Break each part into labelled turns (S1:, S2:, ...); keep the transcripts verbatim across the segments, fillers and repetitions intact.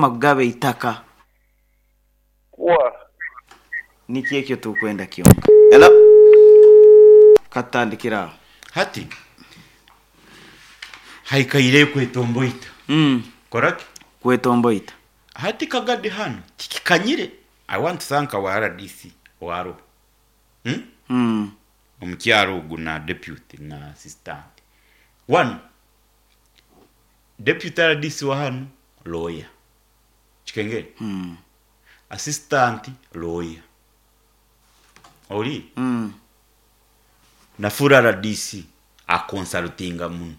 S1: Kugaba eitaka.
S2: Wa.
S1: Niki ekyo tukwenda kyonka. Hello. Katandikira aho.
S3: Hati haikaire kwetomboita.
S1: Mm.
S3: Koraki?
S1: Kwetomboita.
S3: Hati kagadi hano tikikanyire. I want to thank our R D C waro. Hmm?
S1: Mm.
S3: Omukyaro ogu na deputy na assistant. One, deputy R D C wa hano lawyer. Kikengere.
S1: Mm.
S3: Assistant lawyer. Oli
S1: Mm.
S3: na full R D C akonsultinga muno.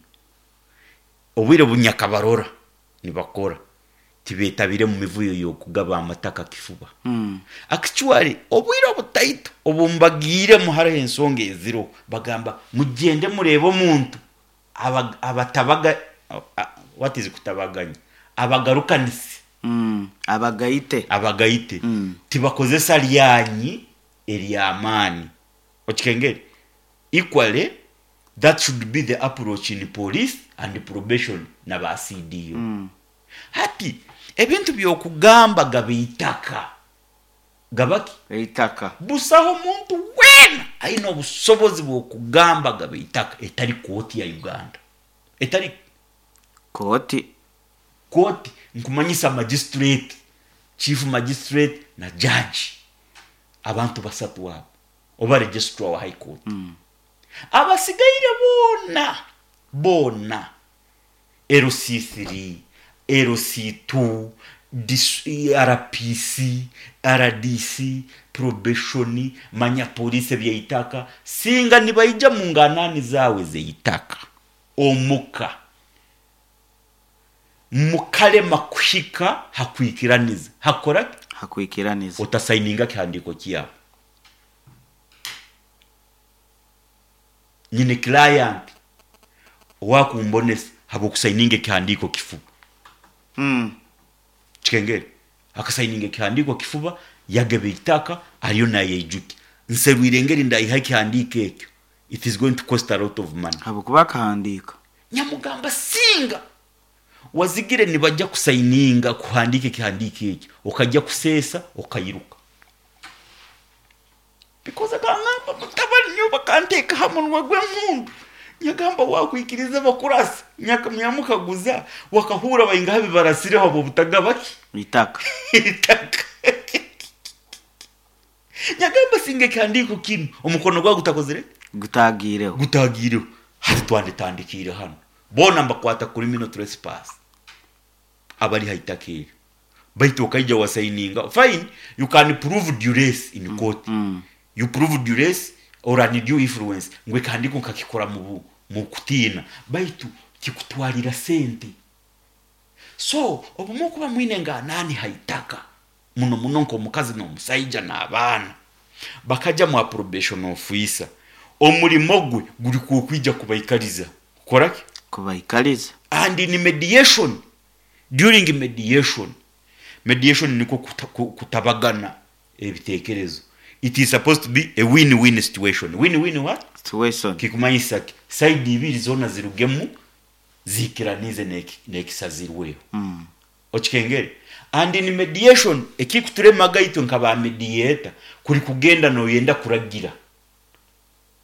S3: Obwire bunyakabarora nibakora tibetabire mu mivuyo yokugaba amataka kifuba.
S1: Mm.
S3: Actually, obwire obutaito obumbagiiremu hariho ensonga eziro bagamba mugende murebe omuntu aba- abatabaga a- what is kutabaganya, abagarukanise.
S1: Mm. Abagaite.
S3: Abagaite.
S1: Mm.
S3: Tibakozesa lyanyi eryamaani, okikengere. Equally, that should be the approach in police and probation na ba C D O.
S1: Mm.
S3: Hati ebintu byokugamba gaba itaka gabaki.
S1: Eitaka.
S3: Busaho muntu weena aine obusobozi bwokugamba gaba itaka etari kooti ya Uganda, etari
S1: Kooti.
S3: Kooti nkumanyisa magistrate, chief magistrate na judge, abantu basatu abo, oba registrar wa high court.
S1: Mm.
S3: Abasigaire boona boona, L C three, L C two, dis- R P C, R D C, probation, manya polisi ebyeitaka, singa nibaija mu nganani zawe zeitaka omuka mukalema kuhika hakwikiraniza hakora.
S1: Hakwikiraniza.
S3: Otasayininga kihandiko kyabo. Nyine client owakumbonesa habwokusayininga ekihandiko kifuba.
S1: Mm.
S3: Kikengere, akasayininga ekihandiko kifuba, yageba itaka, ariyo nayeijuki nserwire engeri ndayiha ekihandiko ekyo. It is going to cost a lot of money.
S1: Habwokuba akahandiika.
S3: Nyamugamba singa wazigire nibajja kusayininga kuhandika ekihandiko ekyo, okajja kuseesa okayiruka, because akangamba mutabani nyo bakanteeka ha munwa gw'empundu. Nyagamba wakwikiriza bakurasa. Nyaka- nyamukaguza wakahura baingaha bibarasireho abo butagabaki
S1: Itaka.
S3: Itaka. Nyagamba singa ekihandiko kinu omukono gwawe gutakozire
S1: Gutagiireho.
S3: Gutagiireho. Hati twanditandikire hano bona mbakwata criminal trespass abali haitaka eryo, baitu okaija wasayininga, fine, you can prove duress in court.
S1: Mm.
S3: You prove duress or undue influence ngu ekihandiko nkakikora mu bu- mu kutiina, baitu kikutwalira sente. So obumwe okuba mwine nganani haitaka muno muno nk'omukazi n'omusaija n'abaana bakaja mu probation officer, omulimo gwe guri kwokwija kubaikariza kukoraki?
S1: Kubaikariza.
S3: And in mediation, during mediation, mediation niko kuta, ku- kutabagana ebitekerezo, it is supposed to be a win-win situation. Win-win what?
S1: Situation.
S3: Kikumanyisa ki side ibiri zona zirugemu zikiranize n'eki- n'ekisazirweho.
S1: Mm.
S3: Okikengere. And in mediation, ekikuturemaga itwe nka ba mediator kuri kugenda noyenda kuragira.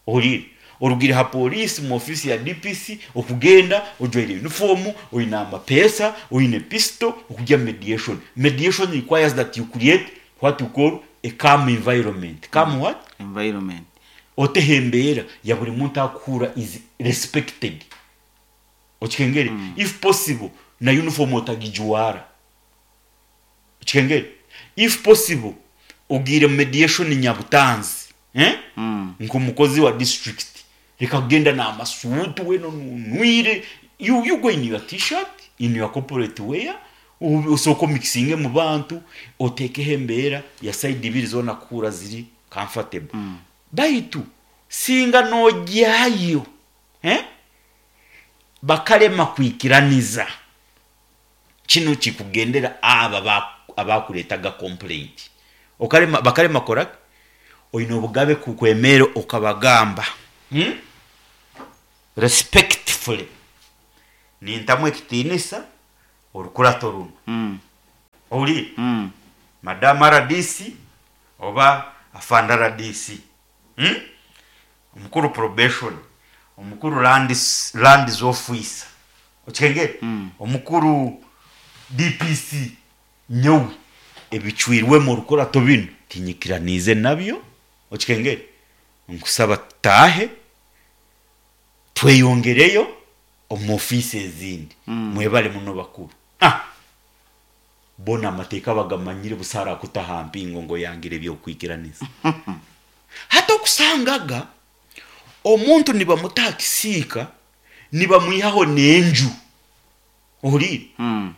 S3: Olire orugire ha polisi mu ofisi ya D P C, okugenda ojwaire uniform, oine amapesa, oine pistol, okujya mediation. Mediation requires that you create what you call a calm environment. Calm what?
S1: Environment.
S3: Oteho embeera ya buri muntu akuhura is respected, okikengere. mm. If possible, na uniform otagijuwara, okikengere. If possible, ogire mediation nyabutanzi, eh?
S1: Mm.
S3: Nk'omukozi wa district, reka kugenda n'amasuutu weno nunwire. you, you go in your T-shirt, in your corporate wear, u- usooka omixinge mu bantu, oteekeho embeera ya side ibiri zona kuhura ziri comfortable. mm. Baitu singa nojyayo, eh? Bakalema kwikiraniza, kino kikugendera aba ba- abakuleetaga complaint, okalema bakalema koraki, oine obugabe kukwemera okabagamba, hmm? Respectfully, nintamu ekitiinisa orukurato runo.
S1: Mm.
S3: Ohuriire?
S1: Mm.
S3: Madamu R D C oba afande R D C, hmm? Omukuru probation, omukuru lands, lands officer, okikengere?
S1: Mm.
S3: Omukuru D P C, nyowe ebicwirwemu orukurato binu tinyikiraniize nabyo, okikengere? Nkusaba tutaahe tweyongereyo omu ofiisi ezindi.
S1: Mm.
S3: Mwebale muno bakuru. Ah, bona amateeka bagamanyire, busaara kutaha mpingo ngo yangire ebyokwikiraniza. Hati okusangaga omuntu nibamutaha kisiika, nibamwihaho n'enju, ohuriire?
S1: Mm.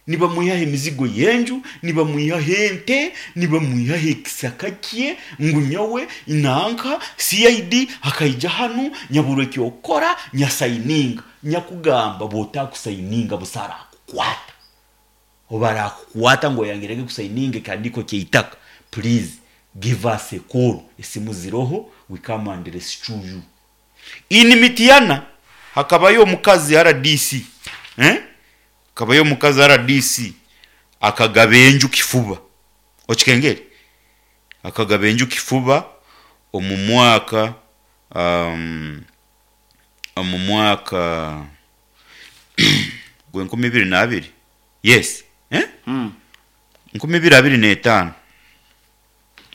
S3: Nibamwihaho emizigo y'enju, nibamwihaho ente, nibamwihaho ekisaka kye, ngu nyowe nanka C I D akaija hanu nyabura ekyokukora, nyasayininga. Nyakugamba bw'otakusayininga busaara akukwata, oba arakukwata ngu oyangirege kusayininga ekihandiiko ky'eitaka. Please give us a call, esimu ziroho, we come and rescue you. In Mityana hakabayo omukazi R D C, eh? Hakabayo omukazi R D C akagaba enju kifuba, okikengere? Akagaba enju kifuba omu mwaka um, omu mwaka gwenkumi ibiri n'abiri, yes, eh?
S1: Mm.
S3: Nkumi ibiri abiri n'etaano,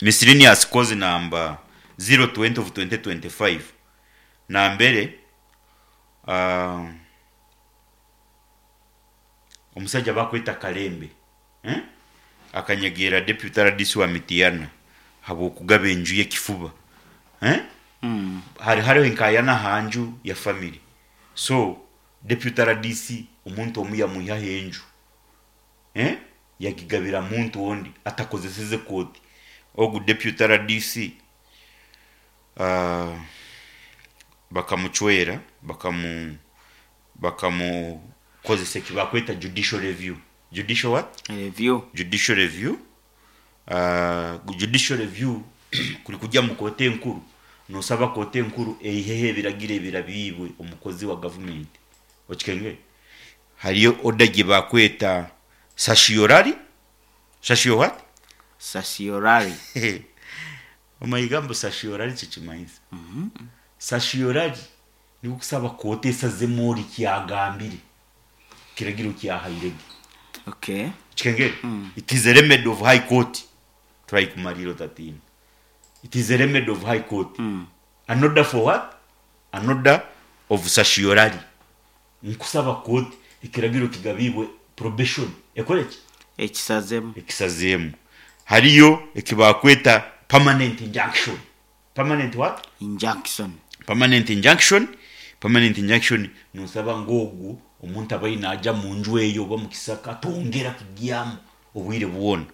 S3: miscellaneous cause number zero twenty of twenty twenty-five, nambere uh, omusajja bakweta Kalembe, eh? Akanyegeera deputy R D C wa Mityana habwokugaba enju y'ekifuba, eh?
S1: Mm.
S3: Hari hariho enkayana aha nju ya family, so deputy R D C omuntu omu yamwihaho enju, eh? Yagigabira muntu ondi atakozeseze kooti. Ogu deputy R D C uh, bakamucwera, bakamu bakamukozesa ekibakweta judicial review. Judicial what?
S1: Review.
S3: Judicial review. uh, judicial review kuri kujya mu kooti enkuru, nosaba kooti enkuru eiheho ebiragiro ebirabiibwe omukozi wa gavumenti, okikenge? Hariyo order gye bakweta certiorari. Certio what?
S1: Certiorari.
S3: Omayigambo certiorari kikimanyisa certiorari niko kusaba kooti esazemu ori kyagambire kiragiro kyahairege.
S1: Okay.
S3: Kikengere? It is a remedy of High Court. Turayikumalira otatina. It is a remedy of High Court.
S1: Mm.
S3: An order for what? An order of certiorari, nkusaba kooti ekiragiro kigabibwe probation ekoreki?
S1: Ekisazemu.
S3: Ekisazeemu. Hariyo ekibakweta permanent injunction. Permanent what?
S1: Injunction.
S3: Permanent injunction. Permanent injunction nosaba ng'ogwo omuntu abaire naja mu nju eyo oba mu kisaka atongera kugyamu obwire bwona.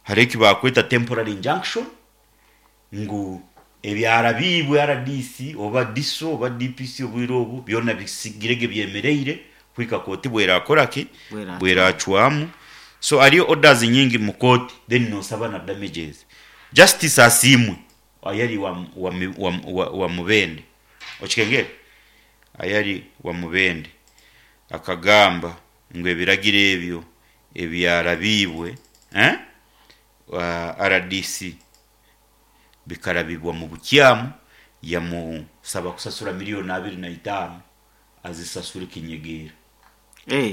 S3: Hariho ekibakweta temporary injunction, ngu ebyarabiibwe R D C oba D I S O oba D P C obwire obu byona bisigirege byemereire kwika kooti bwerakoraki?
S1: Bweracwamu.
S3: Bweracwamu. So hariyo orders nyingi mu kooti, then nosaba na damages. Justice Asiimwe ayari wa, wa, wa, wa, wa Mubende, okikengere? Ayari wa Mubende akagamba ngu ebiragiro ebyo ebyarabiibwe, eh? Wa R D C bikarabibwa mu bukyamu, yamusaba kusasura miliyoni abiri na itaano, azisasure kinyegeera.
S1: Eh.